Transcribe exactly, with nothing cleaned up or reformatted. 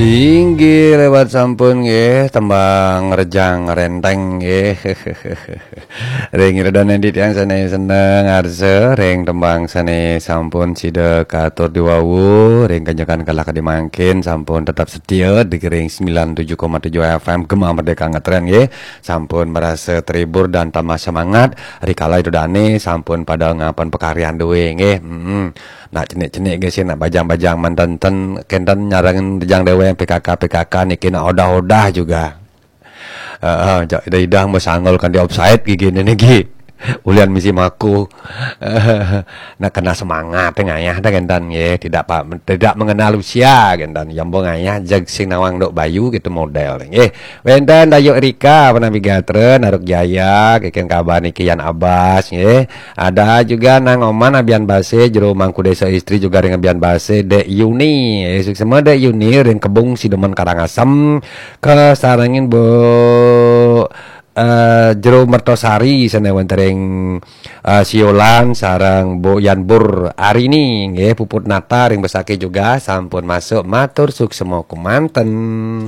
Inggih lewat sampun nggih tembang Rejang Renteng nggih. Ring ira dané titiang sané seneng arsa ring tembang sané sampun sida katur diwawu ring kanjekan kala kadi mangkin sampun tetap setia di ring sembilan tujuh koma tujuh F M Gema Merdeka Ngetren nggih. Sampun merasa terhibur dan tambah semangat rikala ira dané sampun pada ngapan pakaryan duwé nggih. Mm-mm. Nak cenik-cenik nggih sih, nak bajang-bajang manten ten kenten nyarengin Rejang Déwéng P K K P K K niki nak odah-odah juga. Heeh, jak idah-idah mau sanggul kan di offside gigi ini niki. Ulian misi maku. Nak kena semangat ngayah dah kenten nggih. Tidak pa, tidak mengenal usia kenten. Yang bo ngayah jeg sing nawang dok bayu gitu model nggih. Wénten Dayuk Rika, Panampi Gatra, Naruk Jaya, kénkén kabar niki Yan Abbas nggih. Ada juga Nang Oman Abian Base, Jero Mangku Desa Istri juga ring Abian Base, Dek Yuni. Eh, suksma Dek Yuni ring Kebung Sidemen Karangasem, kasarengin Bu eh, Jero Mertosari sané wénten ring eh, Siolan sareng Bu Yanbur Arini nggih, Puput Nata ring Besakih juga sampun masuk, matur suksma kumanten.